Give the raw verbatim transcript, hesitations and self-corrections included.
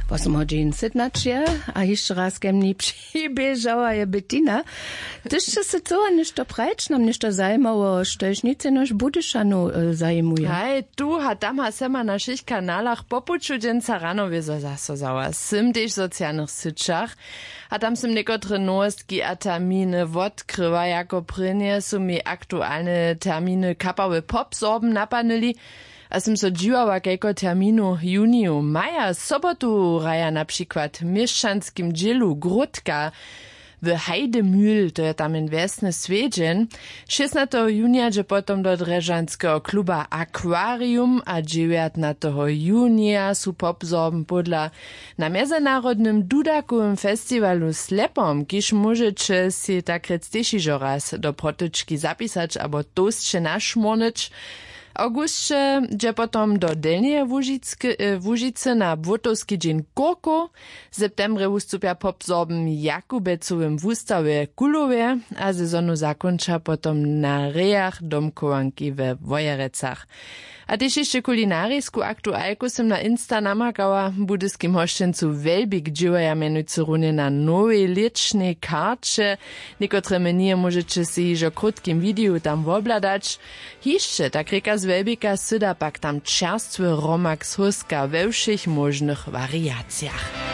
Wosomhodźin sytnaće. A hišće raz ke mni přiběžała je Bettina. Hdyž sće se chcyła něšto prajć, nam něšto zajimało, štož nic jenož Budyšanow zajimuje. Haj, tu a tam a sema na wšěch kanalach po puću dźensa rano wězo zaso za was, sym tež w socialnych syćach. A tam sym někotre nowostki a terminy wotkryła. Jako prěnje su mi aktualne terminy kapały pop sorben napadnyli. A sym so dźiwała kajko terminow w juniju, maja, sobotu hraja na přikład w měšćanskim dźělu gródka w heidemühl, to je tam jen wjesny swjedźeń. Šěstnateho junija dźe potom do drježdźanskeho kluba aquarium a dźewjatnateho junija su pop sorben podla na mjezynarodnym dudakowym festiwalu slepom, kiž móžeće sej takrjec tež hižo raz do protyčki zapisać abo tołsće našmórnyć. W awgusće dźe potom do delnjeje łužicy na błótowski dźeń kurkow. W septembrje wustupja pop w zorben jakubecowym wustawje w kulowje a sezonu zakónča potom na rejach domchowanki we wojerecach. A tež hišće kulinarisku aktualku sym na insta namakała. W budyskim hosćencu welbik dźěłaja mjenujcy runje na nowej lěćnej karće. Někotre menije móžeće sej hižo w krótkim wideju tam wobhladać. Hišće tak rěka z welbika syda pak tam čerstwy hromak z hóska we wšěch móžnych wariacijach.